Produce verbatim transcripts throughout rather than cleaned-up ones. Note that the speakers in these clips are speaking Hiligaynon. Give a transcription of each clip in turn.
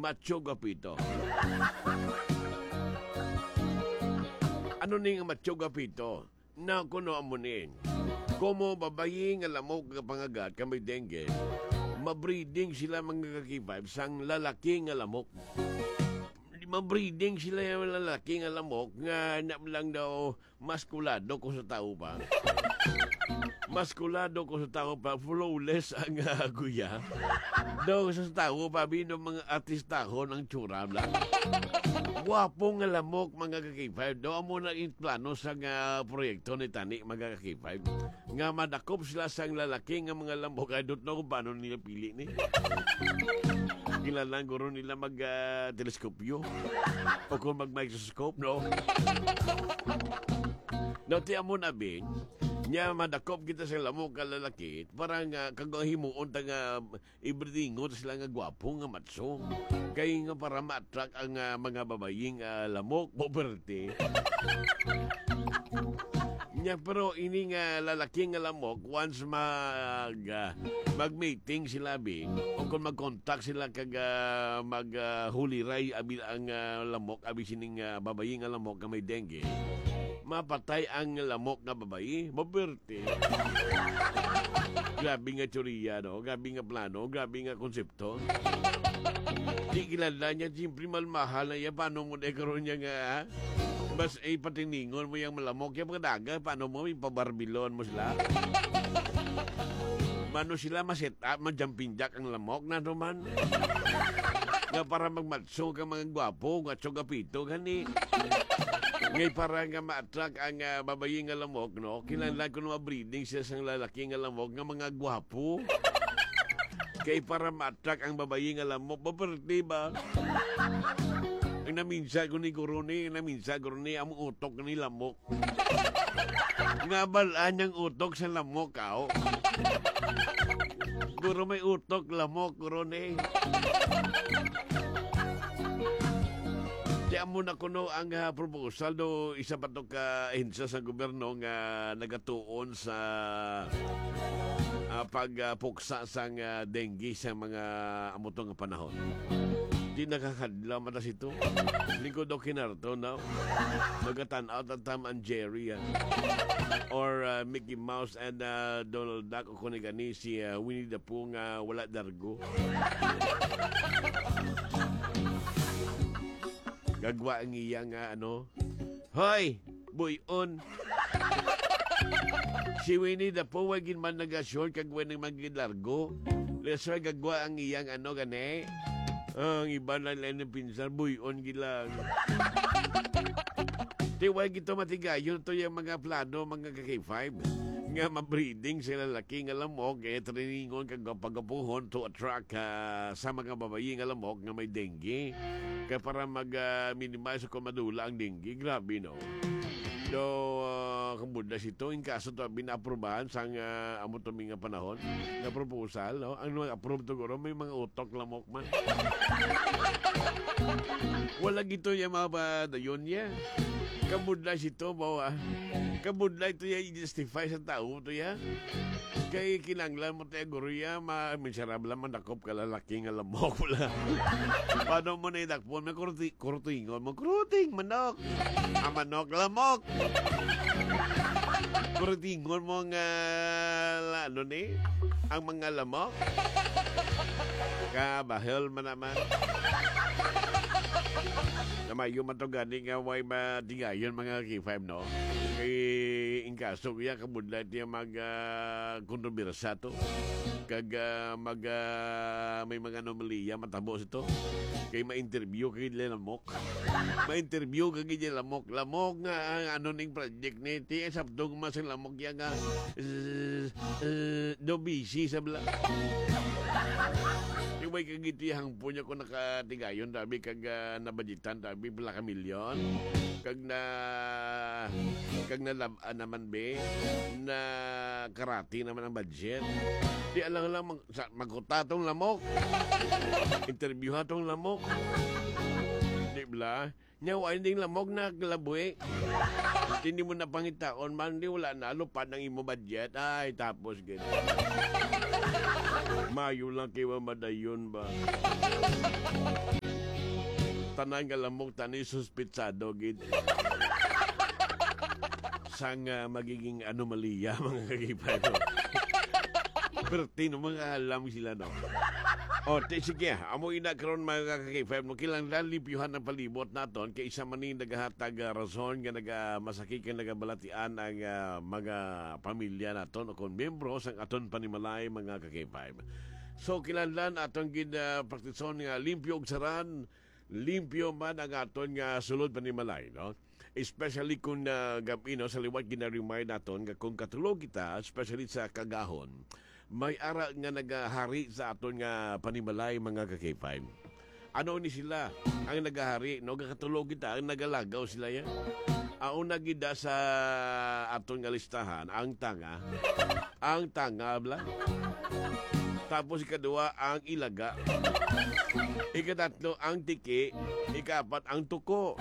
Macho Gapito. Ano ning Macho Gapito? Na kuno amo ni. Komo babayi nga lamok nga pangagat ka may dengue, mabreeding sila mga ka-K five sang lalaki nga lamok. Mabreeding sila yung lalaki nga lamok nga na lang daw maskulado ko sa tao pa. Maskulado ko sa tao pa, flawless ang, ah, guya. Daw sa tao pa, bino mga artistahon ang tsura lang. Guwapo nga lamok, mga ka-K five. Daw amo na yung plano sa nga proyekto ni Tani, mga ka-K five. Nga madakop sila sang lalaki nga mga lamok. I don't know kung paano nila pili ni. Kinahanglan guro nila mag, ah, teleskopyo. O kung mag-microscope, no? No, ti amo na, Bing. Nya, madakop kita sa lamok ka lalaki, para nga kag himuon ta nga ibridingon sila nga gwapo nga matso. Kay nga para ma-attract ang, ah, mga babaying, ah, lamok, poverty. Nya, pero ini nga lalaki nga lamok, once mag, ah, mag-mating sila, Bing, o kung mag-contact sila kag, ah, mag, ah, huliray, abi ang, ah, lamok, abi sining, ah, babayi nga lamok nga may dengue, mapatay ang lamok nga babayi, maberte. Grabe nga teorya, no? Grabe nga plano, grabe nga konsepto. Di kilala niya, siyempre, mahal-mahal na iya. Paano mo na karon niya nga, ha? Mas, eh, patiningon mo yung malamok, yung mga daga, paano mo, ipabarbilon mo sila? Mano sila maset up, ma-jumping jack ang lamok na naman. Nga para magmatso ka mga gwapo, nga tsuga pito, gani. Ngay para nga ma-attract ang, ah, babayi nga lamok, no? Kinahanglan ko na ma-breeding siya sang lalaki nga lamok nga mga gwapo. Kay para ma-attract ang babayi nga lamok, maperte ba? Ang naminsa ko ni guro ni, naminsa guro ni, ang utok ni lamok. Nga balaan niyang utok sa lamok, aw. Guro may utok, lamok, guro ni. Di amo na kuno ang, ah, proposal do isa pa to ka ahensya sa gobyerno nga nagatuon sa, ah, pagpuksa sang, ah, dengue sa mga amo to nga panahon. Di nakakadlaw mata sito. Lingkod o kinarto, no? Nagatan-aw ta Tom and Jerry, ah. Or, ah, Mickey Mouse and, ah, Donald Duck o kung gani si, ah, Winnie the Pooh nga wala dargo. Gagwa ang iya nga, ano, "Hoy, buyon." Si Winnie the Pooh, way gid man naga-short kag way nang magilargo. That's why gagwa ang iyang ano gani. Ang iba na lang ng pinsan, buyon gid lang. Di way gito matigayon to yung mga plano, mga ka-K five, nga ma-breeding sa lalaki nga lamok, eh, triningon kag gapagapuhon to attract, ah, sa mga babayi nga lamok nga may dengue. Kaya para mag, ah, minimize kung madula ang dengue. Grabe, no? So, ah, kung buda sito, in kaso to, binaprubahan sang, ah, amo to mga panahon, na proposal, no? Ang nag-approve to, guro, may mga utok lamok man. Wala gito yung mga padayon niya. Kabudlay sito, bawa. Kabudlay to ya i-justify sa tao to ya. Kay kinanglan mo tayo, guro ya, ma-, miserable man dakop ka lalaki nga lamok wala. Paano mo na idakpon? May kurti-, kurtingon mo. Kurting, manok. Ang manok, lamok. Kurtingon mo nga, la-, ano ni? Ang mga lamok. Kabahal man naman. Namayo man to gani nga way matigayon mga K five, no? Kay in kaso kaya kabudlay tiya mag, ah, kontrobersa to. Kag, ah, mag, ah, may mga anomalya matabo sa to. Kay ma-interview kay lamok. Ma-interview kay lamok. Lamok nga ang ano ning project ni ti sabdog mas ang lamok ya nga, eh, eh, do busy sa bla. Iway kag ito yung hangpo niya kung nakatigayon, tabi, kag, ah, nabadjitan, tabi, pila ka milyon. Kag na, kag na lab-, ah, naman, be, na karati naman ang budget. Di alang lang mag-, sa, magkuta tong lamok. Interview ha tong lamok. Di bla? Nya, wa ding lamok na kalabuhi. Hindi mo na pangitaon man, di wala na, lupad ang imo budget. Ay, tapos gid. Mayo lang kay wa madayon ba? tanan nga lamok tani suspitsado gid sang, ah, magiging anomalya, mga ka-K five. Perti no, mga alam sila, no? O, ti-, sige, amo ina karon, mga ka-K five, no? Kinahanglan limpyuhan ang palibot naton kay isa man ni nagahatag, ah, rason nga naga-, masakit kay nagabalatian ang, ah, mga pamilya naton o kon miyembro sang aton panimalay, mga ka-K five. So, kinahanglan aton gid, ah, praktison nga limpyo og saran, limpyo man ang aton nga sulod panimalay, no? Especially kung, ah, gab-i, no, sa liwat gina-remind naton nga kung katulog kita, especially sa kagahon, may ara nga nagahari sa aton nga panimalay, mga ka-K five. Ano ni sila ang nagahari, no? Gakatulog kita, ang nagalagaw sila yan. Ang una gid sa aton nga listahan, ang tanga. Ang tanga, bla. Tapos ikaduha, ang ilaga. Ikatatlo, ang tiki. Ikaapat, ang tuko.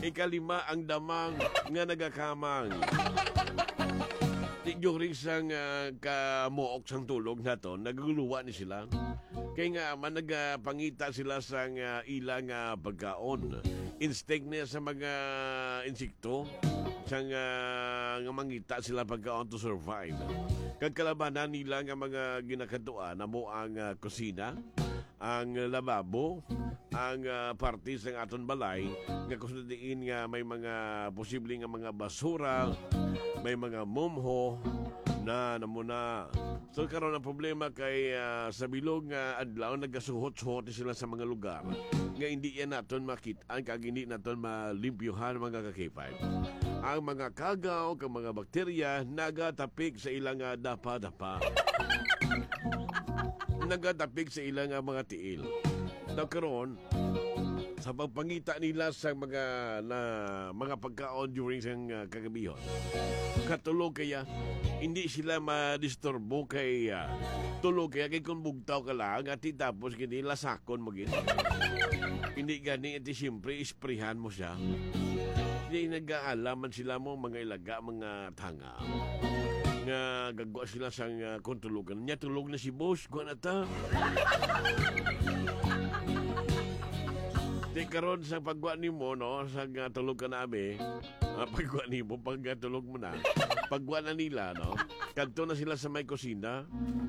Ikalima, ang damang nga nagakamang. Di during sang, ah, kamuok sang tulog naton, naguluwa ni sila. Kay nga man nagapangita sila sang, ah, ila nga pagkaon. Instinct niya sa mga insekto, sang, ah, nga mangita sila pagkaon to survive. Kag kalabanan nila nga mga ginakadtuan amo ang, ah, kusina, ang lababo, ang, ah, parte sang aton balay nga kung sa diin nga may mga posible nga mga basura, may mga mumho na namuna. So, karon ang problema kay, ah, sa bilog nga adlaw nagasuhot-suhot ni sila sa mga lugar nga hindi yan naton makit-an kag hindi naton malimpyuhan, mga ka-K five. Ang mga kagaw kag mga bakterya nagatapik sa ilang, ah, dapa-dapa. Nagatapik sa ilang, ah, mga tiil. Daw karon, sa pagpangita nila sa mga, na, mga pagkaon during sang, ah, kagabihon, katulog kaya, hindi sila madisturbo kay, ah, tulog kaya kay kung bugtaw ka lang, ati tapos gini, lasakon mo gid. Hindi gani, ati siyempre, isprihan mo siya. Di nag-aalaman sila mo, mga ilaga, mga tanga. Nga gagwa sila sang, ah, kung tulogan. Nya tulog na si boss, gwa na ta. Di karon sa pagwa nimo, no, sa, ah, tulog ka na, abi. Ah, pagwa nimo, pag, ah, tulog mo na. Pagwa na nila, no. Kadto na sila sa may kusina.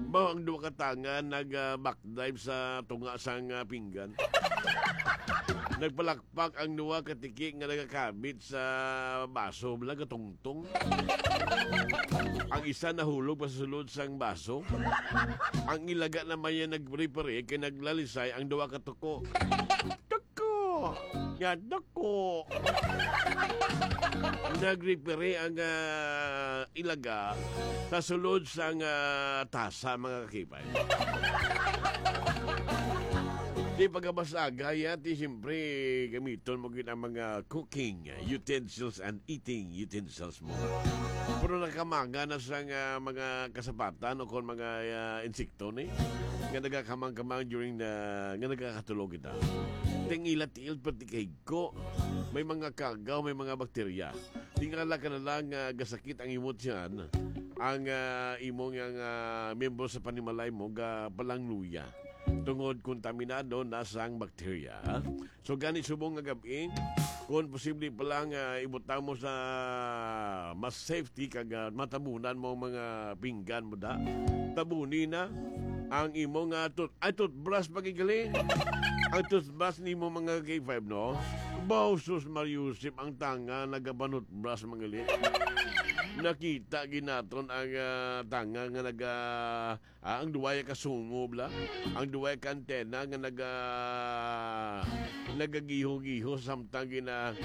Ba, ang duha ka tanga nag, ah, back dive sa tunga sang, ah, pinggan. Nagpalakpak ang duha ka tiki nga nagakabit sa baso, bala gatungtong. Ang isa nahulog pa sa sulod sang baso. Ang ilaga naman niya nagpare-pare kay naglalisay ang duha ka tuko. Tuko! Nga tuko! Nagripiri ang, ah, ilaga sa sulod sang, ah, tasa, mga ka-K five. Di pagkabasagay, ah, ti siyempre gamiton mo gid ang mga cooking utensils and eating utensils mo. Pero nakamanga na sang, ah, mga kasapatan o kon mga, ah, insekto ni nga nagakamang-kamang during the, nga nagakatulog kita. Ting ila tiil, pati kay ko, may mga kagaw, may mga bakterya. Tingala ka na lang nga gasakit ang imo tiyan, ang, ah, imo nga, nga miyembro sa panimalay mo gapalangluya tungod kontaminado na sang bakterya. So, gani subong nga gab-i, kung posible pa lang, ah, ibutang mo sa mas safety kag, ah, matabunan mo ang mga pinggan mo da. Tabuni na ang imo nga tooth-, ay, toothbrush pa gid gali. Ang toothbrush nimo, mga K five, no? Bausos, Mariusip, ang tanga nagapanutbrush, mga gali. Nakita gid naton ang, ah, tanga nga naga, ah, ang duway ka sungob la. Ang duway ka antena nga naga, nagagiho-giho samtang gina,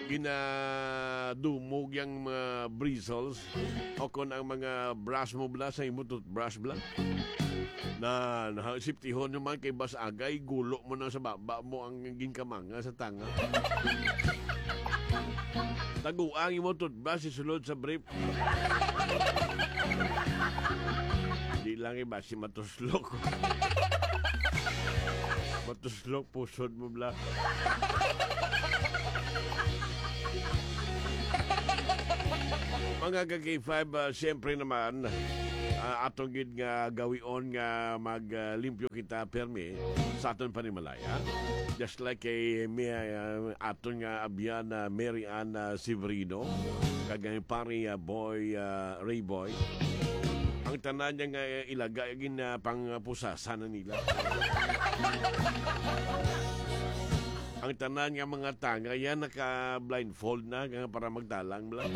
ginadumog yang mga bristles o kon ang mga brush mo bla sa imo toothbrush bla. Na, na, siptihon naman kay bas agay, gulo mo na sa baba mo ang ginkamanga sa tanga. Taguang imo toothbrush isulod sa brief. Di lang iba si matuslok. Matuslok, pusod mo bla. Mga ka-K five, ah, siyempre naman, ah, aton gid nga gawion nga mag, ah, limpyo kita permi sa aton panimalay, ha? Just like kay mi, ah, aton nga abyan na Mary Ann, ah, Severino, kag ang pari, ah, Boy, ah, Ray Boy. Ang tanan niya nga ilaga, gin, ah, pangpusasan na nila. Ang tanan nga mga tanga, yan naka-blindfold na, nga para magdalang lang.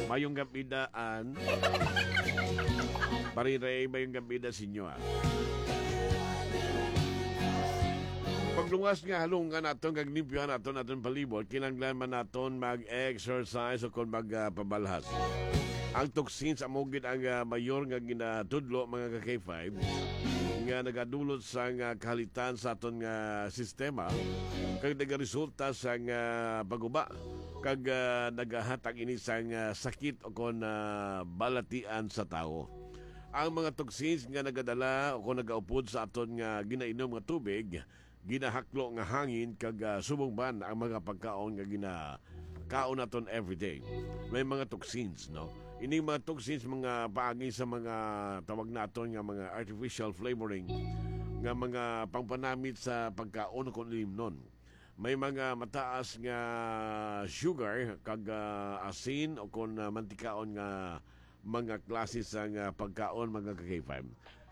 Mayong gabi daan. Pari Ray, mayong gabi da sa inyo, ah. Pagluwas nga halungan naton kag limpyuhan naton aton palibot, kinahanglan man naton mag-exercise o kon mag, ah, pabalhas. Ang toxins amo gid ang, ah, mayor nga ginatudlo, mga ka-K five, nga nagadulot sang, ah, kahalitan sa aton nga sistema kag nagaresulta sang, ah, paguba kag, ah, nagahatag ini sang, ah, sakit o kon, ah, balatian sa tawo. Ang mga toxins nga nagadala o kon nagaupod sa aton nga ginainom nga tubig, ginahaklo nga hangin kag, ah, subong man ang mga pagkaon nga ginakaon naton everyday. May mga toxins, no? Ining mga toxins, mga paagi sa mga tawag naton nga mga artificial flavoring nga mga pangpanamit sa pagkaon o kon ilimnon. May mga mataas nga sugar kag, ah, asin o kon, ah, mantikaon nga mga klase sang, ah, pagkaon, mga ka-K five.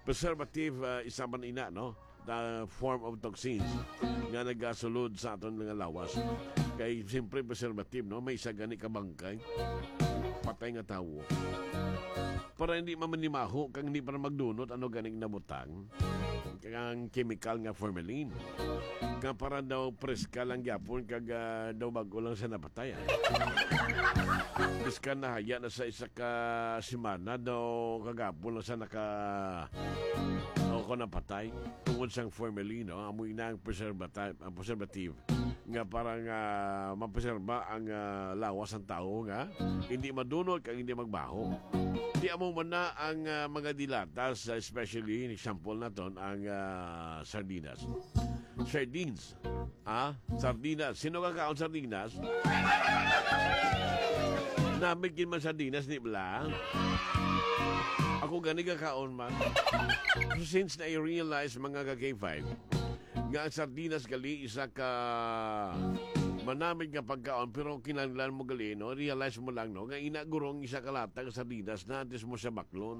Preservative, ah, isa man ina, no? The form of toxins nga nagasulod sa aton nga lawas. Kay siyempre preservative, no? May isa gani ka bangkay, patay nga tawo. Para hindi mamanimaho kag hindi para magdunot ano ganing nabutang kang chemical nga formalin. Nga para daw preska lang gyapon kag, ah, daw bag-o lang siya napatay, ah. Preska na haya na sa isa ka semana, daw kagapon lang siya naka-, o ko napatay tungod sang formalin, no? Amo ina ang preservati-, ang preservative nga para nga mapreserba ang, ah, lawas sang tawo nga hindi madunot kag hindi magbaho. Di amo man na ang, ah, mga dilatas, especially, example naton, ang, ah, sardinas. Sardines. Ah, sardinas. Sino ka kaon sardinas? Namit gid man sardinas, di bala? Ako gani ka kaon man. So, since na-realize, mga ka-K five, nga ang sardinas gali isa ka manamit nga pagkaon, pero kinahanglan mo gali, no? Realize mo lang, no, nga ina gurong isa ka lata ka sardinas na antes mo siya baklon.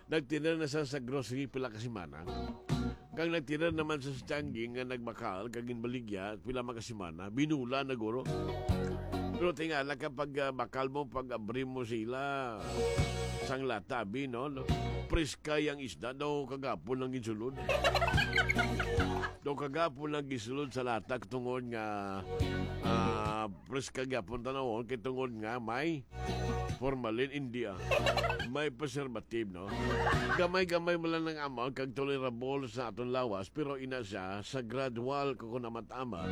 Nagtiner na sa, sa grocery pila ka semana. Kag nagtiner naman sa Tianguis nga nagbakal kag ginbaligya pila man ka semana, binula na guro. Pero tingala, kapag, ah, bakal mo, pag abri mo sila sang lata, abi, no? Preska yang isda daw kagapon lang ginsulod. Daw kagapon lang gisulod sa lata tungod nga, ah, preska gyapon tanawon kay tungod nga may formalin, hindi, ah. May preservative, no? Gamay-gamay mo lang ang amount kag tolerable sa aton lawas, pero ina siya sa gradual ko kun amat-amat.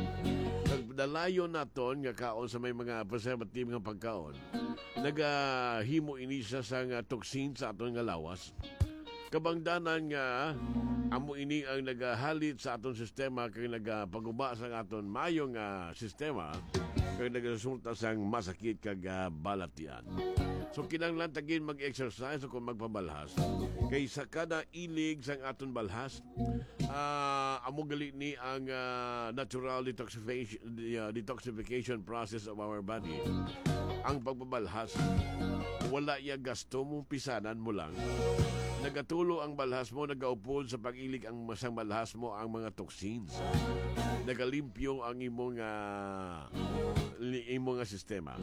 Kag dalayon naton nga kaon sa may mga preservative nga pagkaon, nagahimo ini siya sa nga toxin sa aton nga lawas. Kabangdanan nga amo ini ang nagahalit sa aton sistema kag nagapaguba sa aton maayo nga sistema kag nagaresulta sang masakit kag, ah, balatian. So, kinahanglan ta gid mag-exercise o kung magpabalhas kay sa kada ilig sang aton balhas, ah, amo gali ni ang, ah, natural detoxification, the, ah, detoxification process of our body. Ang pagpabalhas, wala iya gasto mo, pisanan mo lang. Nagatulo ang balhas mo, nagaupod sa pag-ilig ang sang balhas mo ang mga toxins. Nagalimpyo ang imo nga, li-, imo nga sistema.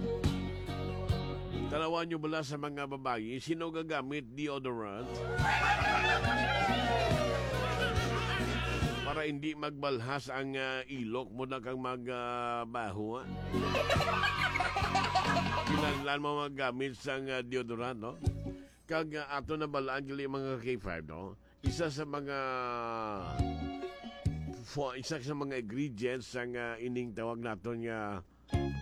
Tanawan nyo bala sa mga babayi, sino gagamit deodorant? Para hindi magbalhas ang, ah, ilok mo na kang mag, ah, baho, ah. Kinahanglan mo maggamit sang, ah, deodorant, no? Kag, ah, ato na balaan gali, mga K five, no? Isa sa mga fo-, isa sa mga ingredients sang, ah, ining tawag naton nga,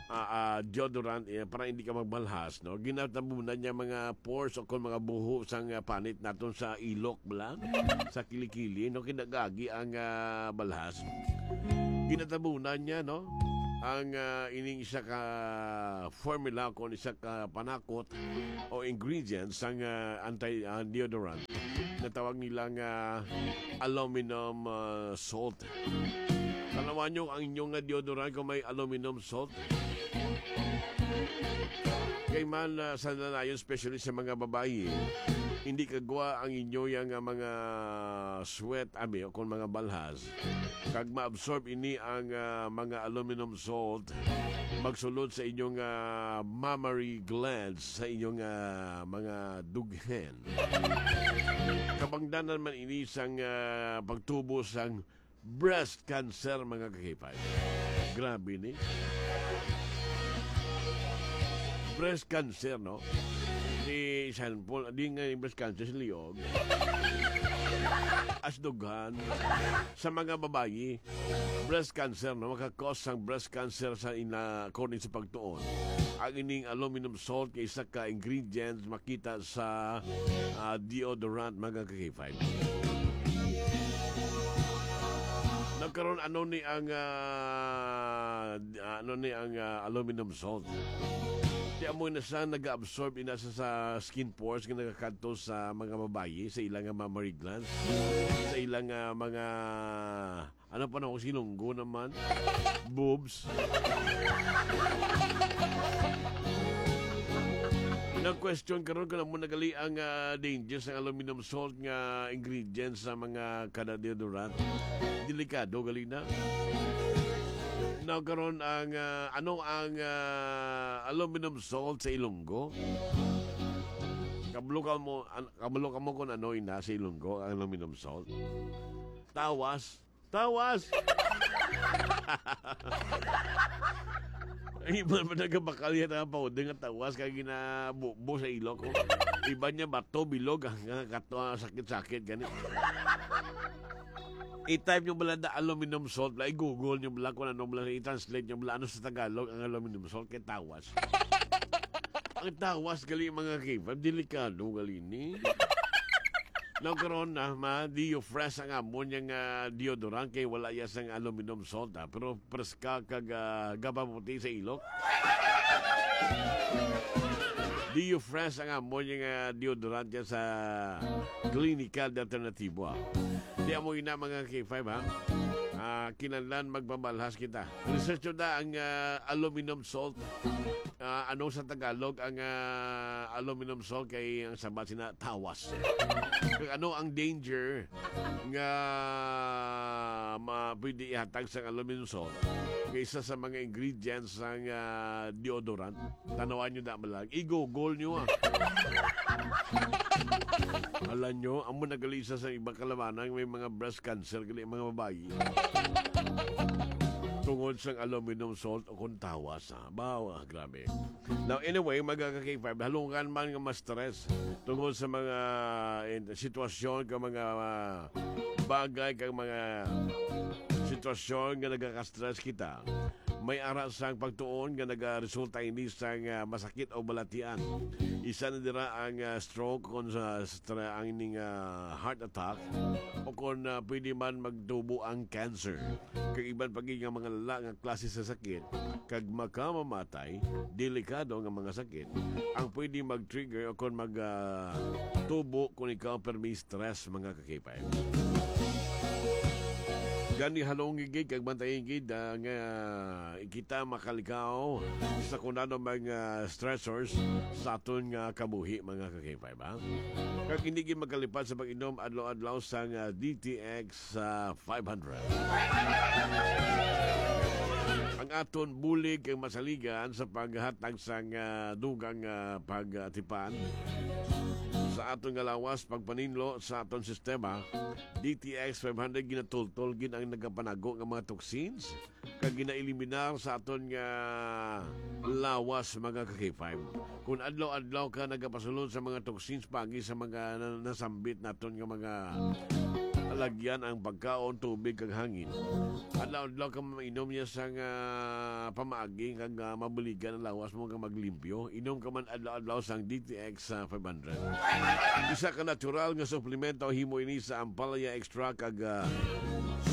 ah, ah, deodorant, eh, para hindi ka magbalhas, no? Ginatabunan niya mga pores o kung mga buho sang, ah, panit naton sa ilok, bala, sa kilikili, no? Kinagagi ang, ah, balhas. Ginatabunan niya, no? ang, ah, ining isa ka formula, kung isa ka panakot o ingredients sang, ah, anti, ah, deodorant na tawag nila nga aluminum, ah, salt. Tanawan nyo ang inyong nga deodorant kung may aluminum salt. Kay man, ah, sa nanayon, especially sa mga babayi, hindi kagwa ang inyo yang, ah, mga sweat, abi, o kung mga balhas. Kag maabsorb ini ang, ah, mga aluminum salt, magsulod sa inyong, ah, mammary glands, sa inyong, ah, mga dughen. Kabangdanan man ini sang, ah, pagtubo sang breast cancer, mga kakipay. Grabe ni. Breast cancer, no? Si Sean Paul, di nga yung breast cancer, si Liog. As dughan, sa mga babayi, breast cancer, no? Makakos sang breast cancer sa ina, according sa pagtuon. Ang ining aluminum salt kay isa ka ingredient makita sa, ah, deodorant, mga kakipay. Nagkaroon, ano ni ang, ah, d-, ano ni ang, ah, aluminum salt? Di amo na siya nag-absorb ina sa, sa skin pores nga nagakadto sa mga babayi, sa ilang nga mammary glands, sa ilang nga mga, ano pa na, silunggo naman, boobs. Nag-question karon kung amo na gali ang, ah, danger sang aluminum salt nga ingredients sa mga kada deodorant. Delikado gali na. Now, karon ang, ah, ano ang, ah, aluminum salt sa Ilonggo? Kabalo ka mo, an-, kabalo ka mo kung ano ina sa Ilonggo ang aluminum salt? Tawas. Tawas! Ang iban pa nagabakal yan ang powder nga tawas kag ginabubo sa ilok, oh. Iban niya bato, bilog, hanggang kato, ah, sakit-sakit, gani. I-type nyo bala the aluminum salt, bala, i-google nyo bala kung ano bala, i-translate nyo bala ano sa Tagalog ang aluminum salt kay tawas. Ang tawas gali, mga kibab, delikado gali ni. Now, karon na, ma, Dio Fresh ang amon yang, ah, deodorant kay wala iya sang aluminum salt, ah, pero preska kag, ah, gababuti sa ilok. Dio Fresh ang amon yang, ah, deodorant yan sa klinikal na alternatibo, ah. Di amo ina, mga K five, ha? Ah, kinahanglan magpamalhas kita. Research nyo na ang, ah, aluminum salt. Ah, ano sa Tagalog ang, ah, aluminum salt? Kay ang sabat sina tawas. Kag ano ang danger nga ma-, pwede ihatag sa aluminum salt? Kay isa sa mga ingredients sang, ah, deodorant. Tanawan nyo na malag. I-google nyo, ah. Alam nyo, amo na gali isa sa ibang kalamanan, may mga breast cancer gali ang mga babayi. Tungod sang aluminum salt o kung tawas, ah. Bawa, grabe. Now, anyway, mga ka-K five, halungan man nga ma-stress tungod sa mga, eh, sitwasyon, kag mga, ah, bagay, kag mga sitwasyon nga nagaka-stress kita, may ara sang pagtuon nga nagaresulta ini sang, ah, masakit o balatian. Isa na dira ang, ah, stroke, kon sa stra-, ang ining, ah, heart attack, o kon, ah, pwede man magtubo ang cancer. Kag iban pa gid nga mga lala nga klase sa sakit, kag makamamatay, delikado nga mga sakit, ang pwede mag-trigger o kon mag, ah, tubo kung ikaw permi stress, mga kakipay. Gani halong gid kag bantayan gid, ah, nga kita makalikaw sa kung ano mga stressors sa aton nga kabuhi, mga kakipay, ba? Kag hindi gid magkalipat sa pag-inom adlaw-adlaw sang, ah, D T X sa five hundred. Ang aton bulig kag masaligan sa paghatag sang, ah, dugang, ah, pag-atipan sa aton nga lawas, pagpaninlo sa aton sistema, D T X five hundred ginatultol gid ang nagapanago nga mga toxins kag ginaeliminar sa aton nga lawas, mga ka-K five. Kung adlaw-adlaw ka nagapasulod sa mga toxins paagi sa mga na-, nasambit naton nga mga lagyan, ang pagkaon, tubig, kag hangin, adlaw-adlaw ka mainom niya sa nga pamaagi kag, ah, mabuligan ang lawas mo nga maglimpyo. Inom ka man adlaw-adlaw sang D T X, ah, five hundred. Isa ka natural nga suplemento, himo ini sa ampalaya extract kag, ah,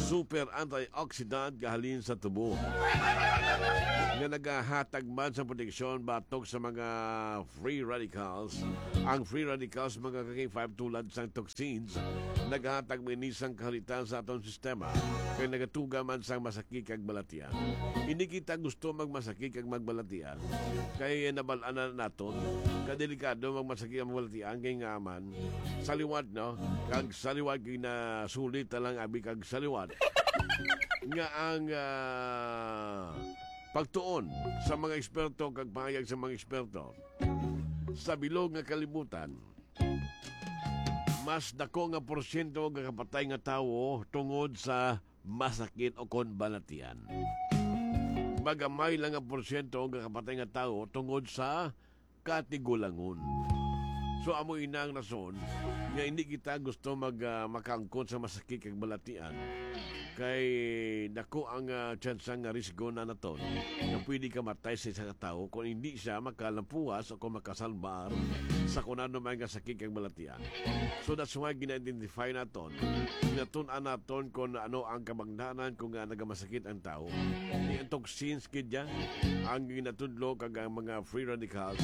super antioxidant nga halin sa tubo, nga nagahatag man sa proteksyon batok sa mga free radicals. Ang free radicals, mga ka-K five, tulad sang toxins, nagahatag man ini sang kahalitan sa aton sistema, kay nagatuga man sang masakit kag balatian. Hindi kita gusto magmasakit kag magbalatian, kay nabal-an na naton, kadelikado magmasakit ang balatian, kay nga man, saliwat, no? Kag saliwat, ginasulit na lang abi kag saliwat. Nga ang, ah, pagtuon sa mga eksperto kag pahayag sa mga eksperto, sa bilog nga kalibutan, mas dako nga porsyento nga kapatay nga tawo tungod sa masakit o kon balatian. Magamay lang nga porsyento nga kapatay nga tawo tungod sa katigulangon. So, amo ina ang rason nga hindi kita gusto mag, ah, makaangkon sa masakit kag balatian, kay dako ang, ah, tsansa nga risgo na naton nga pwede ka matay sa isa ka tawo kung hindi siya makalampuas o kung makasalbar sa kung ano man nga sakit kag balatian. So, that's why gina-identify naton, ginatun-an naton kung ano ang kabangdanan kung nga nagamasakit ang tawo. Ni ang toxins gid ya ang ginatudlo kag ang mga free radicals.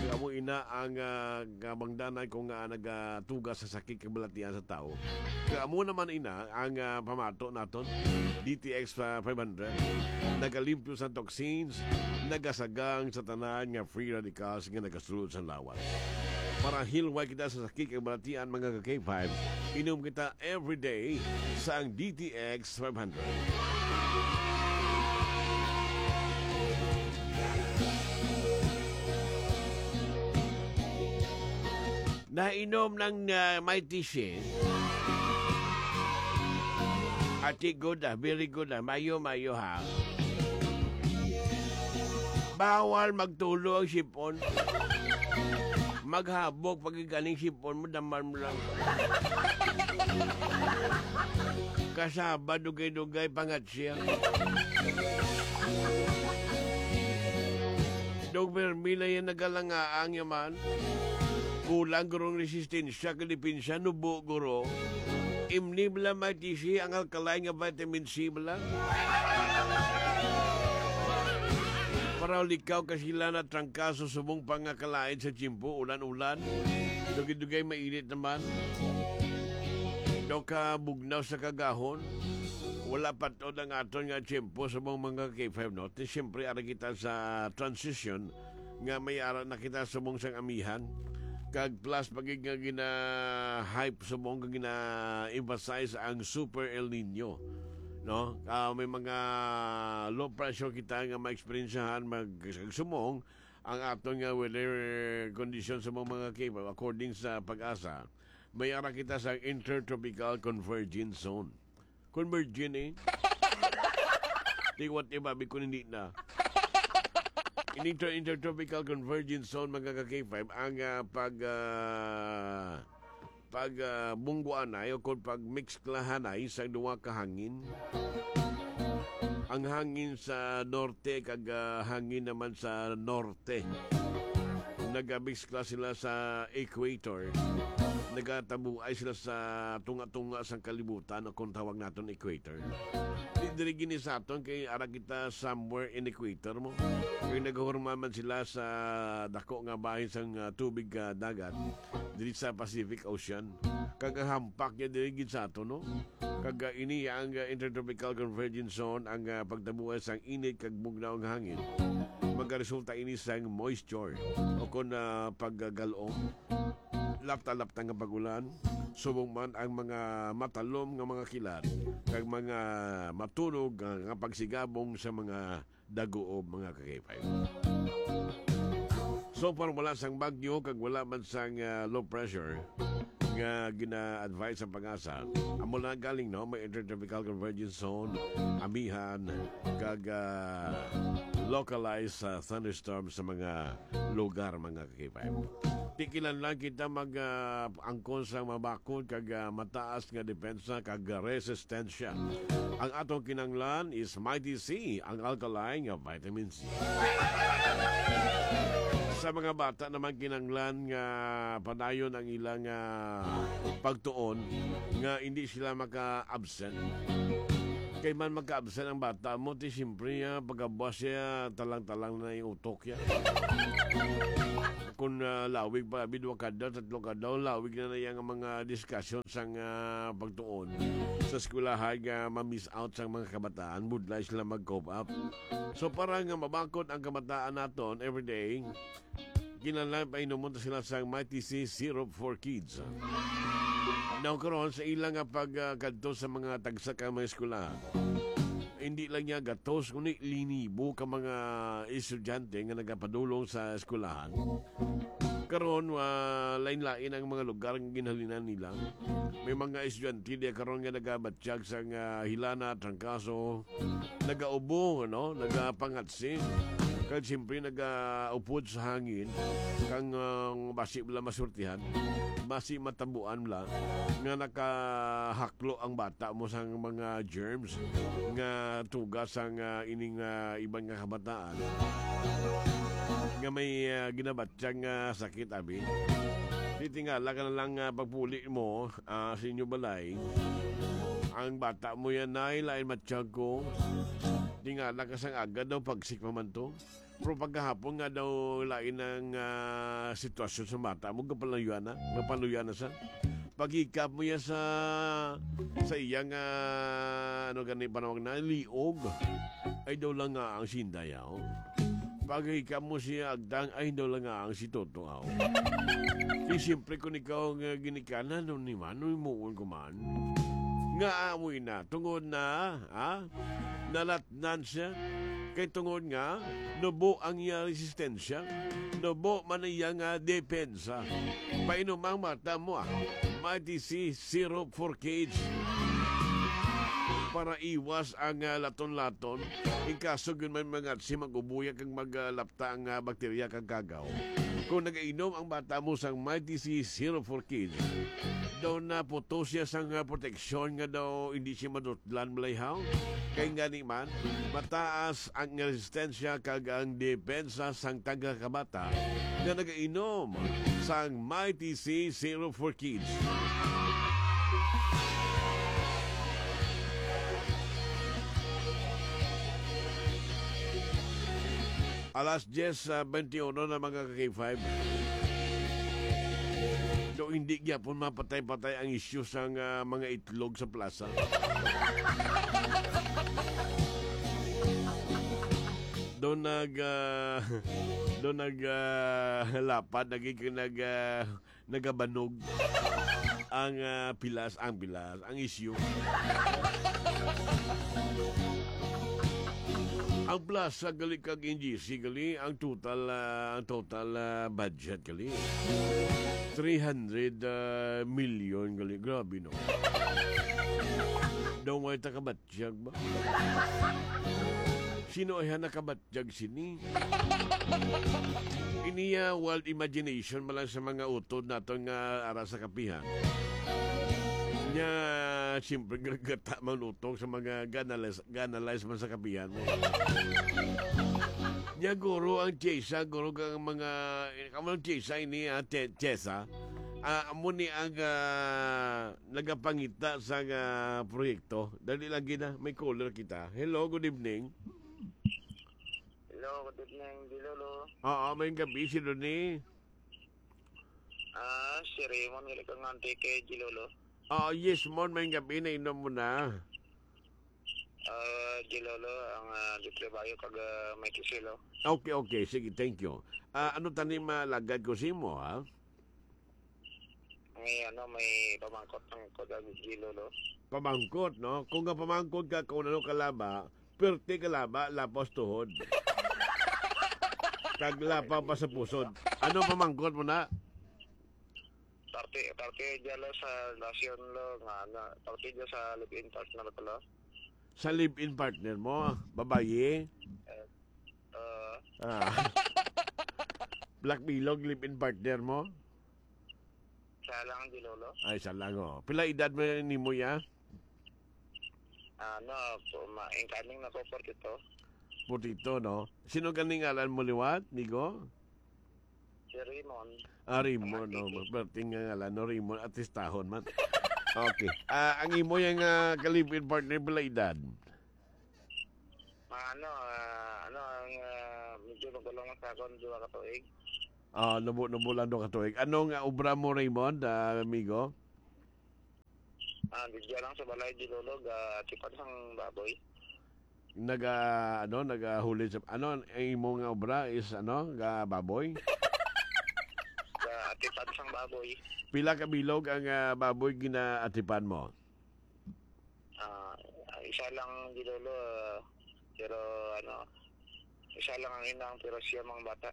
Kag amo ina ang, ah, kabangdanan kung nga nagatuga sa sakit kag balatian sa tawo. Kag amo naman ina ang, ah, pamato naton, D T X five hundred. Nagalimpyo sa toxins, nagasagang sa tanan nga free radicals nga nagasulod sa lawas. Para hilway kita sa sakit kag balatian, mga ka-K five, inom kita everyday sa ang D T X five hundred. Nainom ng, ah, Mighty Shi. Ati, good, ah, very good, ah. Mayo, mayo, ha. Bawal magtulo ang sipon. Maghabok pag ganing sipon mo, daman mo lang. Kasaba, dugay-dugay, pangat siya. Dog Vermila yan nagalangaang yaman. Kulang gurong resistensya, kadipensya, nubo, guro. Imni bala, Mighty Shi, ang alkaline nga vitamin C bala. Para likaw ka sila na trangkaso subong pangakalain sa tiyempo, ulan-ulan. Dugay-dugay mainit naman. Do ka bugnaw sa kagahon. Wala patod ang aton nga tiyempo sa mga, mga K five, no? Ti, siyempre, ara kita sa transition nga may ara na kita subong sang amihan. Kag plus pa gid nga gina-hype subong kag gina-emphasize ang Super El Nino, no? Ah, may mga low pressure kita nga maeksperiensyahan mag-, subong ang aton nga weather condition sa mga, mga K five according sa PAGASA. May ara kita sa Intertropical Convergence Zone. Convergent, eh. Di what if, abi ko, hindi na. Ini to Intertropical Convergence Zone, mga ka-K five, ang, ah, pag, ah, pag, ah, bungguanay o kung pag-mix klahanay sa duha ka hangin. Ang hangin sa norte kag, ah, hangin naman sa norte. Nagabisla sila sa equator. Nagatabuay sila sa tunga-tunga sang kalibutan, o kung tawag naton equator. Di diri gini sa aton, kay ara kita somewhere in equator mo. Kay nagahurma man sila sa dako nga bahin sang, ah, tubig, ah, dagat diri sa Pacific Ocean. Kag ang hampak niya diri gid sa aton, no? Kag, ah, ini ang, ah, Intertropical Convergence Zone, ang, ah, pagtabuan sang init kag bugnaw nga hangin. Magaresulta ini sang moisture o kon, ah, paggalom. Lapta-lapta nga pag-ulan, subong man ang mga matalom nga mga kilat kag mga matunog nga, nga pagsigabong sa mga daguob, mga ka-K five. So far, wala sang bagyo kag wala man sang, ah, low pressure nga gina-advise sa PAGASA. Amo na galing, no, may Intertropical Convergence Zone, amihan, kag, ah, localized, ah, thunderstorm sa mga lugar, mga ka-K five. Tikilan lang kita mag, ah, angkon sa mabakod kag, ah, mataas nga depensa kag resistensya. Ang atong kinanglan is Mighty C, ang alkaline nga vitamin C. Sa mga bata naman, kinanglan nga padayon ang ilang, ah, pagtuon nga hindi sila maka-absent. Kay man makaabsent ang bata mo, ti siyempre, ah, pagkabuas siya, talang-talang na yung utok niya. Kung, ah, lawig pa, abi, dua ka adlaw, tatlo ka adlaw, lawig na na yang mga discussion sang, ah, pagtuon sa eskwelahan nga ma-miss out sang mga kabataan, budlay sila mag-cope up. So, para nga mabakod ang kabataan naton everyday, kinahanglan painomon ta sila sang Mighty C Syrup for Kids. Now, karon, sa ila nga pag, ah, kadto sa mga tagsa ka mga eskwelahan, hindi lang niya gatos, kundi linibo ka mga estudyante nga nagapadulong sa eskwelahan. Karon, ah, lain-lain ang mga lugar nga ginhalinan nila. May mga estudyante diya karon nga nagabatyag sa nga hilana, trangkaso, nagaubo, ano, nagapangatsi. Kag siyempre, nagaupod sa hangin, kang, ah, basi wala masurtihan, basi matabuan la, nga nakahaklo ang bata mo sang mga germs nga tuga sang, ah, ining, ah, iban nga kabataan nga may, ah, ginabatyag nga sakit, abi. Di tingala ka na lang, ah, pagpuli mo, ah, sa inyo balay. Ang bata mo yan, nay, lain matyag ko. Tingala ka sang agad daw, pagsik pa man to. Pero pagkahapon nga daw, lain ang, ah, sitwasyon sa bata mo, gapaluyan na, gapaluyan na sa. Paghikap mo yan sa, sa iyang, ah, ano gani, panawag na, liog. Ay daw lang nga ang sinday, oh. Paghikap mo siya agtang, ay daw lang nga ang si Toto, oh. Di siyempre, kung ikaw nga ginikanan, no, ni man, no, himuon ko man. Nga amoy na, tungod na, ha? Nalatnan siya. Kay tungod nga, nubo ang iya resistensya. Nubo man iya nga depensa. Painom ang mata mo, ah. Mighty C Syrup for Kids. Para iwas ang, ah, laton-laton. In kaso gyud may mga si mag-ubuya kag maglapta ang, ah, bakterya kag kagaw. Kung nagainom ang bata mo sang Mighty C Syrup for Kids, daw naputo siya sang, ah, proteksyon nga daw hindi siya madutlan, malayhaw. Kay ngani man, mataas ang resistensya kag ang depensa sang tagsa ka bata nga nagainom sang Mighty C Syrup for Kids. Alas diyes, ah, bente uno na, mga ka-K five. Do hindi gyapon mapatay-patay ang isyu sang, ah, mga itlog sa plaza. Do nag, ah, do nag, ah, lapad, nagig-, nag, ah, nagabanog ang, ah, pilas, ang pilas, ang isyu. Ang plaza gali kag N G C gali, ang total, ah, ang total, ah, budget gali, three hundred, ah, million gali. Grabe, no? Daw may takabatyag ba? Sino ay nakabatyag sini? Ini, ah, wild imagination man lang sa mga utod naton nga ara sa kapihan. Nya, siyempre, gagata man utok sa mga ganales-, ganalize man sa kapihan mo. Nya, guro, ang tiyesa, guro, kang mga, kamo ang tiyesa ini, ah, te-, tiyesa. Ah, amo ni ang, ah, nagapangita sa, ah, proyekto. Dali lang gina, may caller kita. Hello, good evening. Hello, good evening, Gilolo. Oo, may gabi si Ronnie. Ah, si Raymond, gali kang Antique, Gilolo. Oo, yes, Mon, may gabi na, inom mo na. Ah, Gilolo, ang, ah, Dutrebayo, kag, ah, may kisilo. Okay, okay, sige, thank you. Ah, ano tani malagad ko sa imo, ha? May, ano, may pamangkot ang kuda, Gilolo. Pamangkot, no? Kung nga pamangkot ka, kung ano kalaba, perti kalaba, lapos tuhod. Kag lapaw pa sa pusod. Ano pamangkot mo na? Parte, parte dyan lo sa relasyon lo, nga, ano, parte dyan sa live-in partner ko lo. Sa live-in partner mo, babayi? Eh, ah. Ah. Black Bilog, live-in partner mo? Isa lang, Gilolo. Ay, isa lang, oh. Pila edad mo nimo, ya? Ano, po, ma-, incoming na ko, forty-two. Forty-two, no? Sino ganing ngalan mo liwat, migo? Si Raymond. Ah, Raymond, Ang no? Antique. Perting nga ngalan, no? Raymond, artistahon man. Okay. Ah, ang imo yang, ah, ka-live-in partner, pila edad? Ah, ano, ah, ano ang, ah, medyo magulang man sa akon, duha ka tuig. Ah, nubo-nubo lang duha ka tuig. Ano nga obra mo, Raymond, ah, amigo? Ah, di dyan lang sa balay, di lolo, ga tipan sang baboy. Naga, ano, nagahulid sa, ano, ang imo nga obra is, ano, ga baboy? Ga atipan sang baboy. Pila ka bilog ang, ah, baboy ginaatipan mo? Ah, isa lang, di lolo, ah, pero, ano, isa lang ang inang, pero siya mang bata.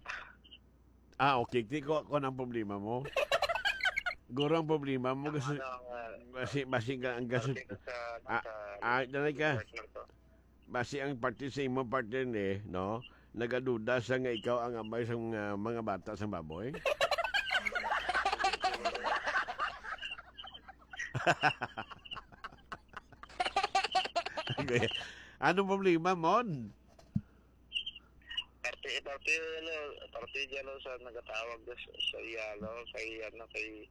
Ah, okay. Ti ko, kung ang problema mo. Guro ang problema mo, Ang kasi, ano, ang, ah, basi, basi ka, ang kasi, parte ko sa, ah, sa ah, danay ka. Partner ko. Basi ang parte sa imong partner ni, no? Nagaduda sa nga ikaw ang amay sa mga, mga bata sa baboy? Okay. Anong problema, Mon? Parte, parte, ano, parte dyan, no, sa nagatawag na sa, sa iya, no, kay, ano, kay,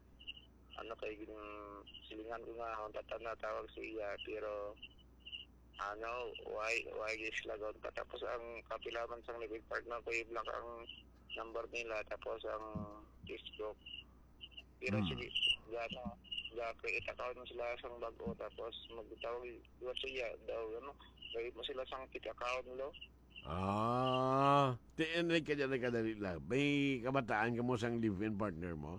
ano, kay, mm, silingan ko nga, ang tata natawag sa iya, pero, ano, why, why is lagon pa? Tapos ang kapilaman sang living partner ko, i-block ang number nila, tapos ang Facebook. Pero Hmm. sige, gano, ga-create account mo sila sang bag-o, tapos magtawag, iwan sa iya, daw, ano, gawin mo sila sang fake account, lo. Ah, ti-, ano ka dyan, nagkadali lang. May kabataan ka mo sang live-in partner mo?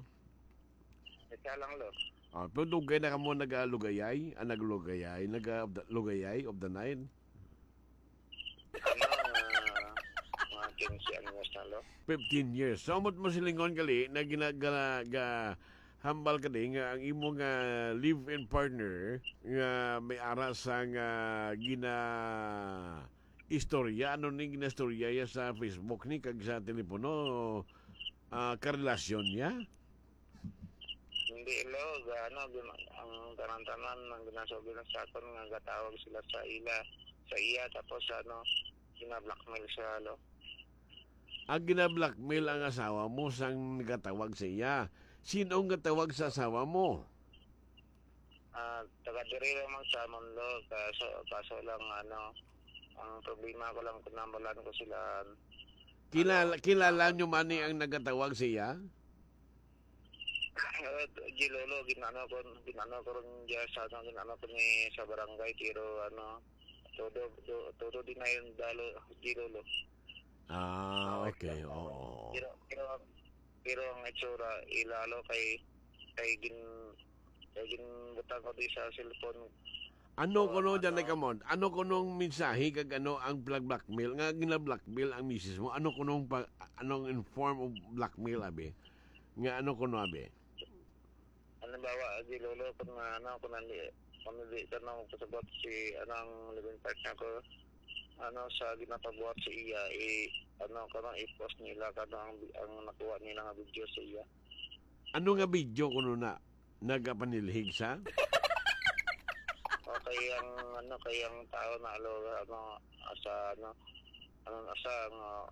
Isa lang, lo. Ah, pero dugay na ka mo nagalugayay? Ah, naglugayay? Naga-, lugayay of the night? Ano, ah, mga quince anyos na, lo. Fifteen years. So, amot mo silingon gali na gina-, ga-, ga-, hambal ka di nga ang imo nga live-in partner nga may ara sa nga gina-, istorya, ano ni ginastorya ya sa Facebook ni kag sa telepono, ah, karelasyon niya? Hindi, lo, ga-, ano, gin-, ang tanan-tanan, ang ginasubi lang sa akon nga gatawag sila sa ila, sa iya, tapos, ano, gina-blackmail siya, lo. Ah, gina-blackmail ang asawa mo sang nagatawag sa iya. Sino ang gatawag sa asawa mo? Ah, taga diri lang man sa amon, lo. Kaso, kaso lang, ano, ang problema ko lang, kung nambalan ko sila, Kilala, ano, kilala nyo man ni ang nagatawag sa iya? Ah, di, lolo, ginano ko, ginano ko rin dyan sa, ano, ginano ko ni sa barangay, pero, ano, todo, do-, todo dinayon, dalo, di, lolo. Ah, okay, oo. Pero, pero, pero ang itsura, ilalo kay, kay gin-, kay ginbutang ko di sa cellphone. Ano kuno dyan, ano? Kamon? Ano kunong mensahe kag ano ang plag-, blackmail? Nga gina-blackmail ang misis mo? Ano kunong pa, anong in form of blackmail, abi? Nga ano kuno, abi? Halimbawa, di, lolo, kung, ano, kung nandi-, kung hindi ka na magpasabot si, ano, ang living partner ko, ano, sa ginapabuhat sa iya, i-, ano, kano, i-post nila, kano ang, ang nakuha nila nga video sa iya. Ano nga video kuno na? Nagapanilhig sa? O kay ang, ano, kay ang tao na, lo, ano, sa, ano, ano, sa, ano,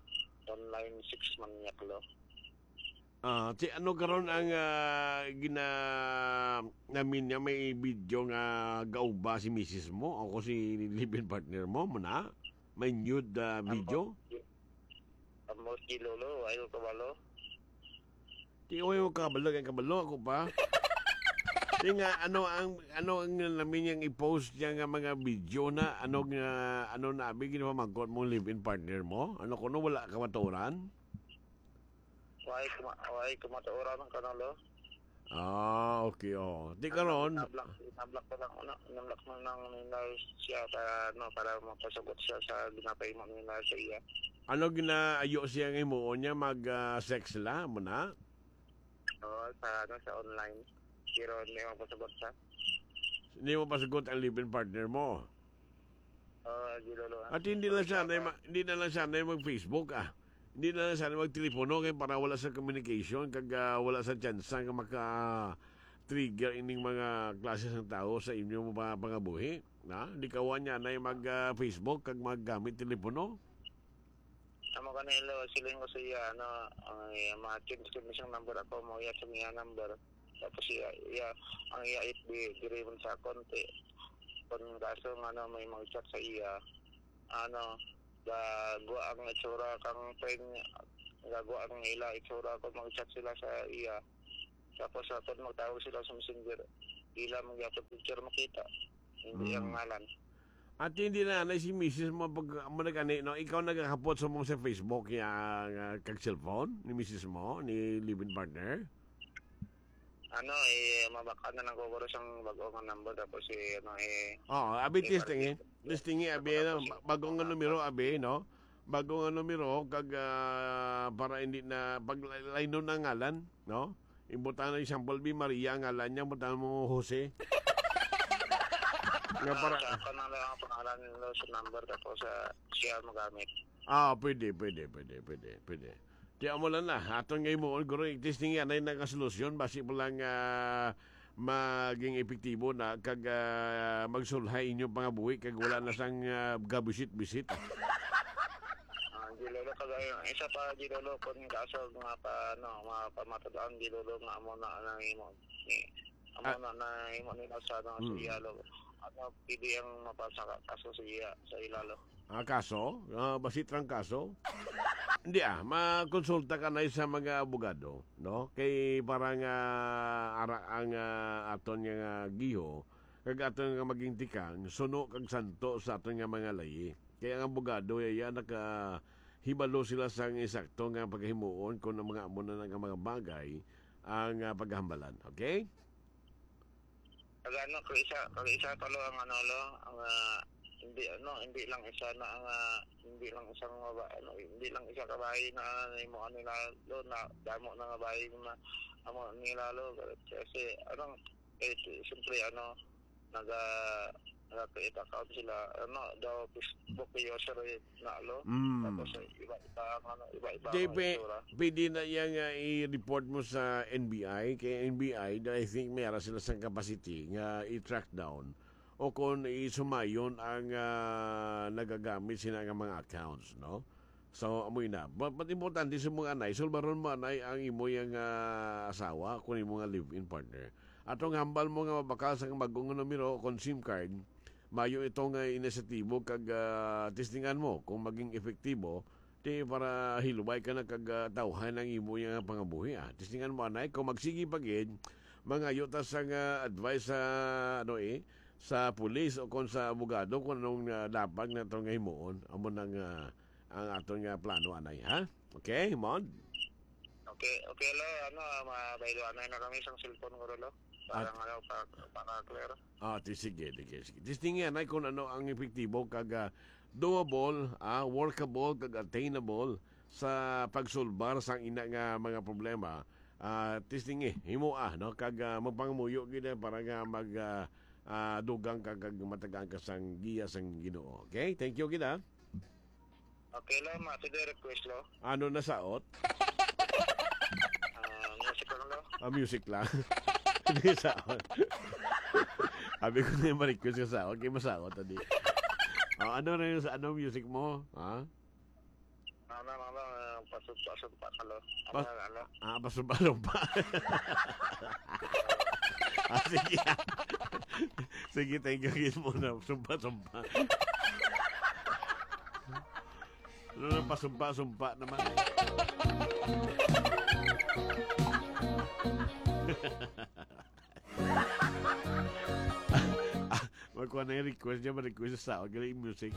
online sex maniac, lo. Ah, si ano karon ang, ah, gina-, namin niya, may video nga gauba si misis mo o kung si live-in partner mo, mo na? May nude, ah, video? Ambot, ambot, di, lolo, ayaw kabalo. Di ko yung kabalo, kay kabalo ako pa. Di nga, ano ang, ano ang namin niyang i-post niya nga mga video na, ano nga, ano na, abi, ginapamangkot mo live-in partner mo? Ano kuno, wala ka maturan? Why kuma-, why kumatuoran ang kanalo? Ah, okay, oh. Di karon. Nablock, nablock ko lang, ano, nablock mo lang nila siya para, ano, para mapasugot siya sa ginapahimo nila sa iya. Ano ginaayo siya nga himuon niya? Mag, ah, sex la, mo na? Oo, sa, ano, sa online. Pero hindi mo pasagot sa Hindi mo pasagot ang live-in partner mo? Oo, di, lolo. At hindi lang siya na ma-, hindi na lang siya na mag-Facebook, ah. Hindi na lang siya na magtelepono kay para wala sa communication kag, ah, wala sa tsansa nga maka-trigger ining mga klase sang tawo sa inyo mga pangabuhi. Na, di kawa niya na mag, ah, Facebook kag maggamit telepono. Amo kanilo, siling ko sa iya, ano, ang, eh, ma-change ko na siyang number ako, mo iya sa iya number. Tapos iya, iya, ang iya F B, diri man sa konti. Kung kaso nga, ano, may mag-chat sa iya, ano, Gagwa ang itsura kang friend niya. Gagwa ang ila itsura kung mag-chat sila sa iya. Tapos, ah, kung magtawag sila sa messenger, ila man gyapon picture makita. Hindi Mm. ang ngalan. At hindi na, na si misis mo pag mo nag-ani, no? Ikaw nagakapot sa mo sa Facebook, ya, nga kag cellphone ni misis mo, ni live-in partner? Ano, eh, mabaka na lang ko guro sang bag-o nga number, tapos, eh, ano, eh, Oo, abi, eh, testing, eh. Testing, eh, abi, ano, bag-o nga numero, abi, no? Bag-o nga numero, kag, ah, para hindi na, pag laynon ang ngalan, no? Imbutang na, example, bi Maria ang ngalan niya, imbutang mo Jose. Nga para Ah, sa ako na lang ang pangalan nila sa number, tapos, ah, siya magamit. Ah, pwede, pwede, pwede, pwede, pwede. Kaya mo lang na, aton nga himuon, guro, testing yan ay nakasolusyon, basi mo lang, ah, maging epektibo na, kag, ah, magsulhay inyong pangabuhi, kag wala na sang, ah, gabisit-bisit. Ah, Gilolo, kag, ah, isa pa, Gilolo, kung kaso nga pa, ano, mga pamatud-an, Gilolo, nga amo na ang imo ni, amo Ah. na, na imo nila sa, ano, sa Mm. iyalo. Ano, pwede ang mapasa ka, kaso sa iya, sa ilalo. Ah, kaso? Ah, basi trangkaso? Hindi, ah, makonsulta ka na sa mga abogado, no? Kay para nga ara ang, ah, aton nga, nga giho, kag aton nga maging tikang, suno kag santo sa aton nga mga layi. Kay ang abogado, iya nakahibalo sila sa eksakto nga paghimuon kung ang mga amo na nga mga bagay ang, ah, paghambalan. Okay? Kag ano, kag isa, kag isa pa lo ang ano lo, ang, ah, hindi, ano, hindi lang isa na ang, ah, hindi lang isang maba-, ano, hindi lang isa ka bahay na, ano, imo, ano, na, lo, na damo na nga bahay na amo nila lo, kasi, ano, eh, siyempre, ano, naga, naga-create account sila, ano, daw Facebook user, eh, na, lo. Mm. Tapos, eh, iba-iba ang, ano, iba-iba Di ang pwe-, itsura. Pwede na iya nga i-report mo sa N B I. Kay N B I, I think may ara sila sang capacity nga i-track down o kung isumayon ang, ah, nagagamit sina nga mga accounts, no? So, amoy na. But, but importante sa mga anay, sulbaron mo anay ang imo yang, ah, asawa, kung imo nga live-in partner. Atong hambal mo nga mabakal sa bag-o nga numero kung SIM card, mayo ito nga inisyatibo kag, ah, testingan mo kung maging epektibo, ti para hilway ka na kag, ah, tawhan ang imo nga pangabuhi, ah. Testingan mo anay kung magsigi pa gid, mangayo ta sang, ah, advice sa, ano, eh, sa pulis o kon sa abogado kung anong, ah, dapat nato nga himuon. Amo nang, ah, ang aton nga plano anay, ha? Okay, Mon? Okay, okay, lo. Ano, ah, mabayloanay na kami sang cellphone ko, lo. Para At nga, lo, pa, para clear. Ah, ti-, sige, sige, sige. Testingi anay kung ano ang epektibo kag, ah, doable, ah, workable kag attainable sa pagsulbar sang ina nga mga problema. Ah, testingi, himoa, no? Kag, ah, magpangamuyo gid, eh, para nga mag, ah, ah, dugang ka kag matagaan ka sang giya sang Ginoo. Okay? Thank you gid, ah. Okay lang, ma, sige, request lo. Ano na saot? Ah, music lang lo. Ah, music lang. Hindi saot. Abi ko na yung ma-request ka saot, kay masaot, adi. Oh, ano na yung sa, ano music mo? Ha? Ano, ano, ano, ah, pasumpa-sumpa ka lo. Ano, Pas- ano? Ah, pasumpa-sumpa. Ah, sige. Sige, thank you, gid mo na. Sumpa-sumpa. Ano na, pasumpa-sumpa naman. Ah, magkuha na yung request niya, ma-request sa galing music.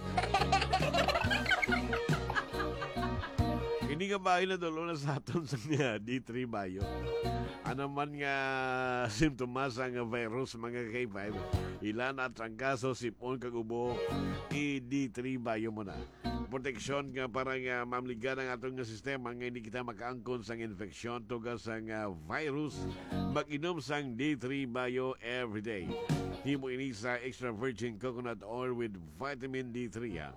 Ini nga bahay na dulo na sa aton sa niya, D three Bayo. Ano man nga simptomas ang virus, mga K five, ila na trangkaso, sipon, kag ubo, i-D three Bayo mo na. Proteksyon nga para nga mamligan ang aton nga sistema nga hindi kita makaangkon sang infeksyon tungod sang, ah, virus. Mag-inom sang D three Bio everyday. Himo ini sa extra virgin coconut oil with vitamin D three, ha.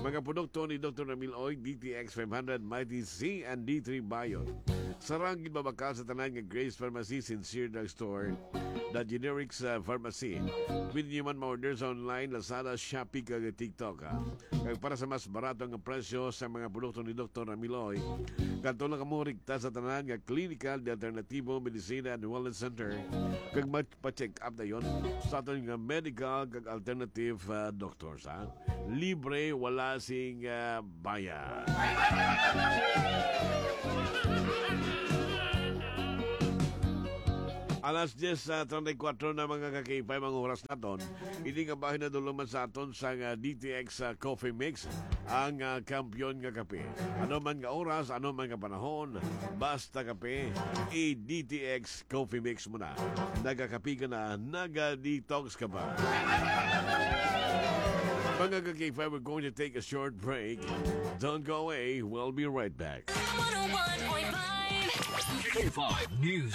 Mga produkto ni Doktor Ramil Oy, D T X five hundred, Mighty C, and D three Bio. Sarang gid mabakal sa tanan nga Grace Pharmacy, Sincere Drug Store, The Generics, ah, Pharmacy. Pwede niyo man ma-order sa online, Lazada, Shopee, kag TikTok, ah. Kag para sa mas barato nga presyo sa mga produkto ni Doktor Ramiloy, kadto lang kamo rekta sa tanan nga Clinical de Alternativo Medicina and Wellness Center, kag magpa-check up dayon sa aton nga medical kag alternative, ah, doctors, ha. Libre, wala sing, ah, bayad. Alas diyes, ah, treinta y cuatro na, mga ka-K five, ang oras naton. Ini nga bahin nadulungan sa aton sang D T X, ah, Coffee Mix, ang, ah, kampiyon nga kape. Ano man nga oras, ano man nga panahon, basta kape, i-D T X Coffee Mix mo na. Nagakape ka na, naga-detox ka pa. Mga ka-K five, we're going to take a short break. Don't go away. We'll be right back. one oh one point five K five News.